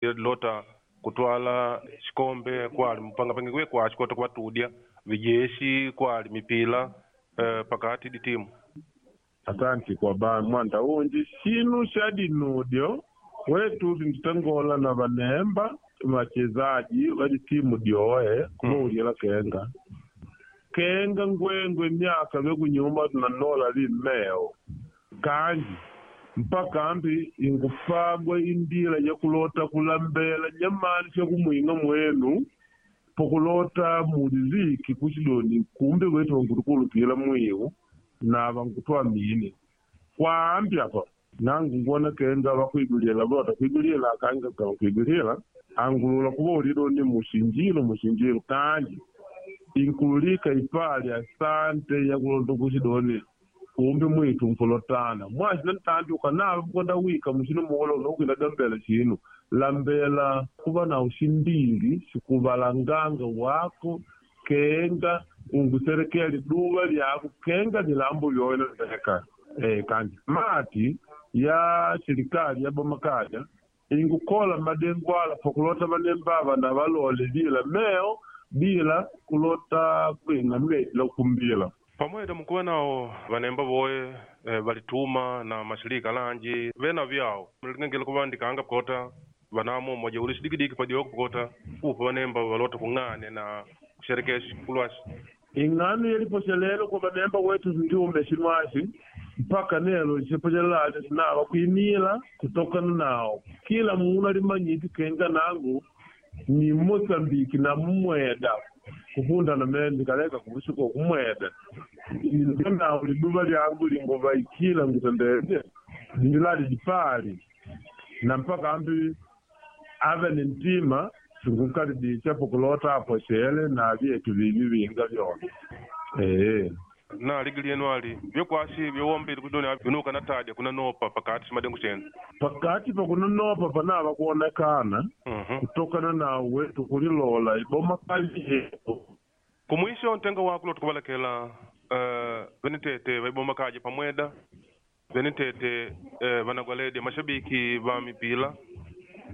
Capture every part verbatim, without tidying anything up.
Lota kutwala xikombe kwali mpangapangiwe kwaxi kota kuvatudya vijeshi kwali mipila eh, pakati di timu. Asanti kwa ba mwanda unji xinu xa dinudyo wetu tinditangola na vanemba vachezaji va ditimu dyoe kuvaulila kenga kenga ngwengwe myaka vekunyuma tunanola limeo kanji mpaka ambi ingupagwa indila yakulota kulambela nyamani syakumwinga mwenu pokulota muliviki kuxidoni kumbe wetu vankutukulupila mwiu na vankutwamini kwaambi apa nangu ngona kenga vakuigulila vota kuigulila kanga vakuigulila angulula kuvaulidoni muxinjilo muxinjilo kanji inkululika ipali asante yakulonda kuxidoni kumbe mwitu nkulotana mwaxina ntanti ukanava kukonda wika muxino muolo unokwina dambela xinu lambela kuva na uximbili xikuvalanganga wako kenga unguserekela liduva lyako kenga lilambo lyoyo ndeka eh kanji mati ya serikali ya bomakaja ingukola madengwala pokulota vanembava na valole bila meo bila kulota kwinga mletila kumbila Pamweda mukuva nawo vanemba voye eh, valituma na mashirika lanji vena vyawo mlingengele kuvandikanga pokota vanamo moja uli xidikidiki padioko pokota kupa vanemba valota kung'ane na kusherekea xikulwaxi ing'ano yeliposhelelo kwa vanemba wetu ndiume xinwaxi mpaka nelo xiposhelelaxo xinava kuimila kutokana nawo kila munu alimanyiti kenga nangu ni Mozambiki na mumweda kufunda na mene ndikaleka kuvusuka kumweda ndio nawo liduva lyangu lingovaikila ngutendete ndilali lipali na mpaka ambi ave ni ntima sinkukalibisha pokulota aposhele na vyetu vivi vinga vyona ee na ligi lyenu ali vyekwaxi vyowombile kudoni vinuka na tadya kunanopa pakati ximadengu xenu pakati pakunonopa panava kuonekana Mhm. kutokana na wetu kulilola iboma kali yetu kumwisho ntenga wako lota kuvalekela uh, venitete vaiboma kaja pamweda venitete uh, vanagwaledi mashabiki va mipila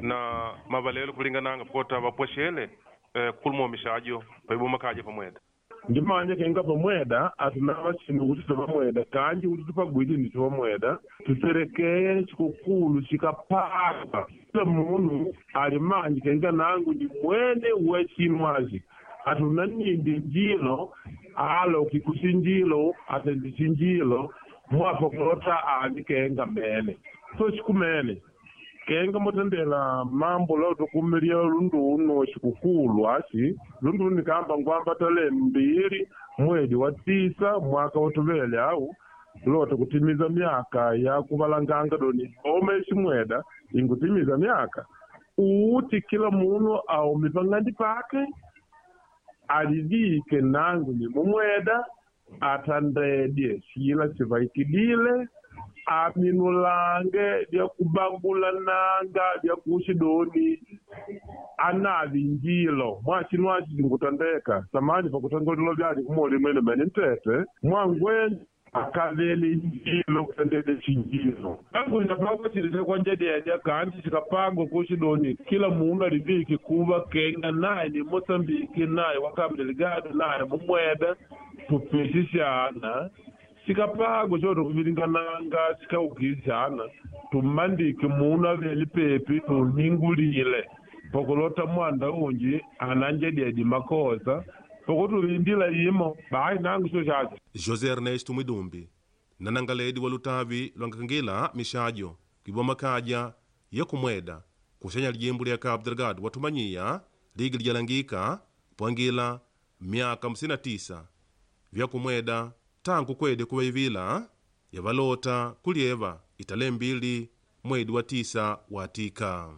na mavalelo kulingananga pokota vapwexele uh, kukuluma mixajo vaiboma kaja pamweda ndimanye kenga pamweda atinava xinu kuti topamweda kanji kuti tupagwidi ndi topamweda tuserekeye xikukulu xikapaka kila munu ali manji kenga nangu ndi mwene we xinwaxi atuna nindi njilo alo kikuxinjilo atendi xinjilo mwapokulota ali kenga mene so xikumene kenga motendela mambo leo tukumilia lunduno xikukulu axi lunduno nikamba ngwamba tale mbili mwedi wa tisa mwaka wotuvele au lota kutimiza myaka ya kuvalanganga doni ome ximweda ingutimiza myaka uti kila munu aume pang'andi pake alivike nangu ni mumweda atandedye xila xivaikidile aminulange lyakubangulananga lyakuxidoni anavi njilo mwaxinwaxi xingutandeka samani pakutangolilo vyali kumoli mwene mene ntete mwangweni akavele njilo kutandele xinjilo anguinapangwa xilise kwanjededya kanti xikapangwa kuxidoni kila munu aliviki kuva kenga naye ni Mosambiki naye wa Cabo Delgado naye mumweda tupexixana xikapangwa xo kuvilingananga xikaukixana tumandiki munu aveli pepi tuningulile pokulota mwanda unji ananjedyedi makosa pokutuvindila imo bayi nangu xo xaxo José Ernesto Mwidumbi nanangaledi wa lutavi lwankakangila mixajo kuiboma kaja yekumweda kuxenya lijimbu lya Cabo Delgado watumanyiya ligi lijalangika pwangila myaka hamsini na tisa vyakumweda tangu kwede kuvaivila yavalota kulyeva itale mbili mwedi wa tisa watika.